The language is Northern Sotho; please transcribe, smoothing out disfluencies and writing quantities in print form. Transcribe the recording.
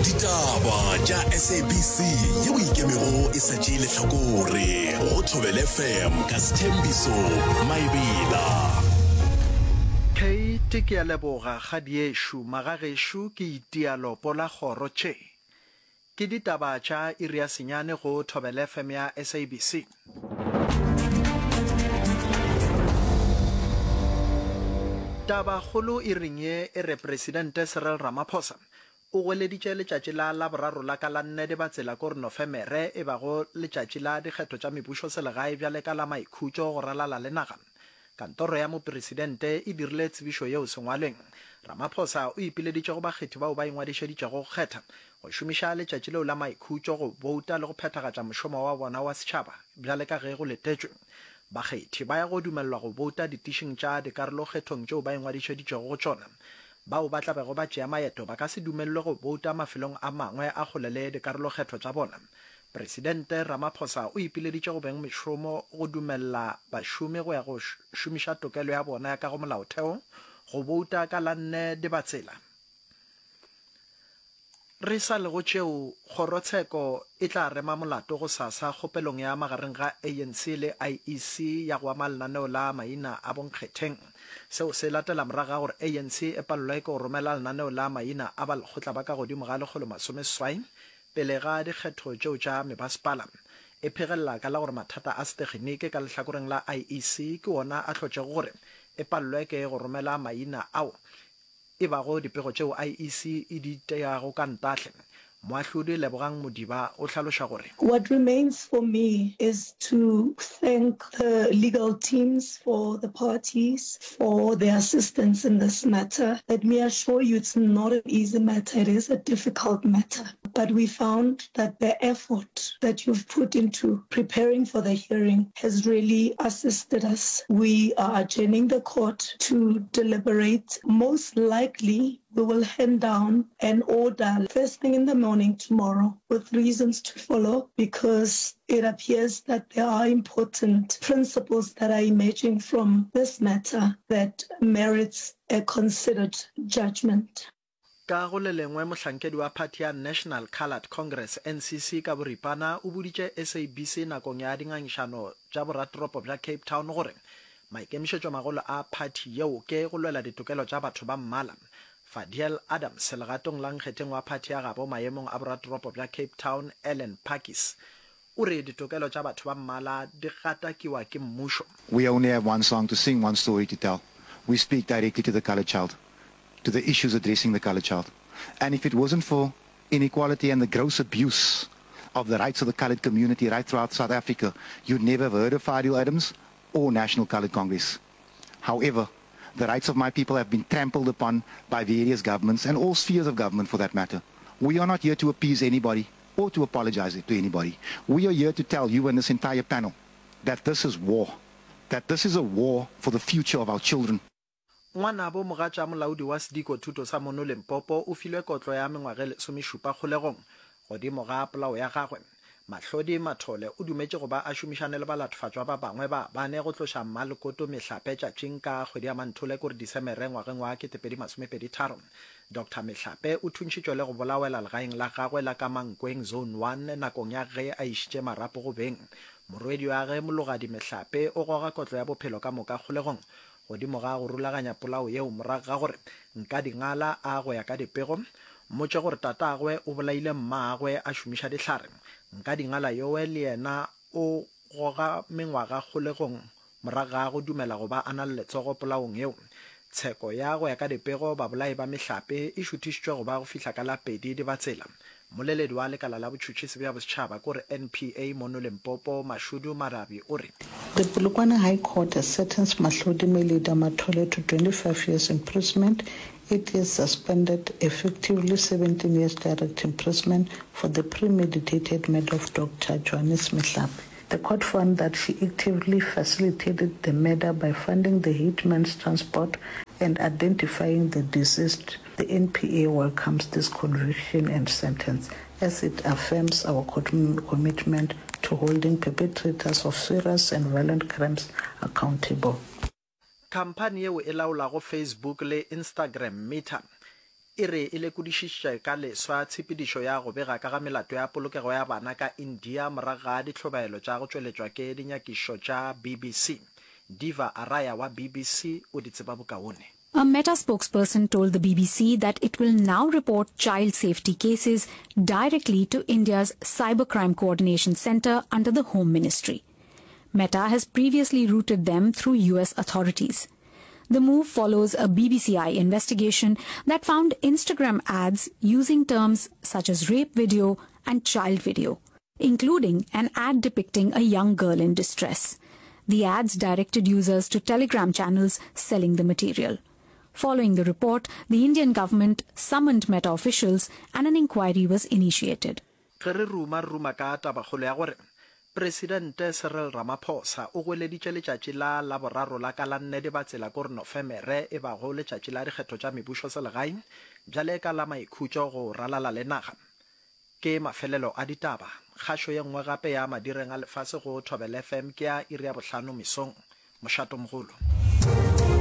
Ditaba tša SABC yeo e ikemego e sa tšee lehlakore go Thobela FM ka Sthembiso Maebela. Kate, Ke a leboga, kgadiešo. Magagešo ke itia lopo la kgoro tše. Ke ditaba tša iri ya senyane go Thobela FM ya SABC. Tabakgolo iring ye e re Presidente Cyril Ramaphosa o goeleditše letšatši la Laboraro la ka la nne Dibatsela kore Nofemere e bago letšatši la dikgetho tša mebušoselegae bjale ka la maikhutšo go ralala le naga. Kantoro ya Mopresidente e dirile tsebišo yeo sengwalweng. Ramaphosa o ipileditše go bakgethi bao ba ingwadišeditšego go kgetha, go šomiša letšatši leo la maikhutšo go bouta le go phethagatša mošomo wa bona wa setšhaba bjale ka ge go letetšwe. Bakgethi ba ya go dumelelwa go bouta ditišing tša dikarolokgethong tšeo ba ingwadišeditšego go tšona. Bao ba tla bego ba tšea maeto ba ka se dumelelwe go bouta mafelong a mangwe a kgole le dikarolokgetho tša bona. Presidente Ramaphosa o ipileditše go beng mešomo go dumelela bašomi go ya go šomiša tokelo ya bona ya ka go molaotheo go bouta ka la nne Dibatsela. Re sa le go tšeo, kgorotsheko e tla rema molato gosasa kgopelong ya magareng ga ANC le IEC ya go ama lenaneo la maina a bonkgetheng. Seo se latela morago ga gore ANC e palelwe ke go romela lenaneo la maina a balekgotla ba ka godimo ga 180 Pele ga dikgetho tšeo tša mebasepala, e phegelela ka la gore mathata a seteginiki ka lehlakoreng la IEC ke wona a hlotšego gore e palelwe ke go romela maina ao e bago dipego tšeo IEC e di teago ka ntahle. Moahlodi Lebogang Modiba o hlaloša gore. What remains for me is to thank the legal teams for the parties for their assistance in this matter. Let me assure you it's not an easy matter, it is a difficult matter. But we found that the effort that you've put into preparing for the hearing has really assisted us. We are adjourning the court to deliberate. Most likely, we will hand down an order first thing in the morning tomorrow with reasons to follow because it appears that there are important principles that are emerging from this matter that merits a considered judgment. Ka go le lengwe, mohlankedi wa phathi ya National Coloured Congress, NCC, ka boripana o boditše SABC nakong ya dingangišano tša boratoropo bja Cape Town gore maikemišetšomagolo a phathi yeo ke go lwela ditokelo tša batho ba mmala. Fadiel Adams, legatong la nkgetheng wa phathi ya gabo maemong a boratoropo bja Cape Town, Ellen Pakkies, o re ditokelo tša batho ba mmala di gatakiwa ke mmušo. We only have one song to sing, one story to tell. We speak directly to the colored child, to the issues addressing the colored child. And if it wasn't for inequality and the gross abuse of the rights of the colored community right throughout South Africa, you'd never have heard of Fadiel Adams or National Colored Congress. However, the rights of my people have been trampled upon by various governments and all spheres of government for that matter. We are not here to appease anybody or to apologize to anybody. We are here to tell you and this entire panel that this is war, that this is a war for the future of our children. Ngwanabo mogatša molaodi wa sediko thuto sa mono Limpopo o filwe kotlo ya mengwaga e lesomešupa kgolegong godimo ga polao ya gagwe. Mahlodi Mathole o dumetše go ba a šomišane le balatfatšwa ba bangwe ba bane go tloša Mmalkoto Mehlape tšatšing ka kgwedi ya Manthole kore Disemere ngwageng wa 2023. Doctor Mehlape o thuntšhitšwe le go bolawela legaeng la gagwe la ka Mankweng Zone One nakong ya ge a išitše marapo go beng. Morwedi wa ge Mologadi Mehlape o goga kotlo ya bophelo ka moka kgolegong Godimo ga go rulaganya polao yeo morago ga gore Nkadingala a go ya ka dipego, mmotše gore tatagwe o bolaile mmagwe a šomiša dihlare. Nkadingala yowe le yena o goga mengwaga kgolegong morago ga go dumela go ba a na le letsogo polaong yeo. Tsheko ya go ya ka dipego babolai ba mehlape e šuthišitšwe go ba go fihla ka la pedi Dibatsela. Mmoleledi wa lekala la botšhotšhisi bja bosetšhaba kore NPA mono Limpopo, Mashudu Marabi o re. The Polokwane High Court has sentenced Mahlodi Melida Mathole to 25 years imprisonment, eight years suspended, effectively 17 years direct imprisonment for the premeditated murder of Doctor Johannes Mehlape. The court found that she actively facilitated the murder by funding the hitman's transport and identifying the deceased. The NPA welcomes this conviction and sentence as it affirms our commitment to holding perpetrators of serious and violent crimes accountable. Khamphani yeo e laolago Facebook le Instagram, Meta, e re e lekodišišitše ka leswa tshepedišo ya go bega ka ga melato ya polokego ya bana ka India morago ga dihlobaelo tša go tšweletšwa ke dinyakišišo tša BBC. Diva Araya wa BBC o di tseba bokaone. A Meta spokesperson told the BBC that it will now report child safety cases directly to India's Cybercrime Coordination Centre under the Home Ministry. Meta has previously routed them through US authorities. The move follows a BBCI investigation that found Instagram ads using terms such as rape video and child video, including an ad depicting a young girl in distress. The ads directed users to Telegram channels selling the material. Following the report, the Indian government summoned Meta officials and an inquiry was initiated. Ge re ruma, re ruma ka tabakgolo ya gore Presidente Cyril Ramaphosa o goeleditše letšatši la Laboraro la ka la nne Dibatsela kore Nofemere e bago letšatši la dikgetho tša mebušoselegae bjale ka la maikhutšo go ralala le naga. Ke mafelelo a ditaba. Kgašo ye nngwe gape ya madireng a lefase go Thobela FM ke ya iri ya bohlano mesong. Mošatomogolo.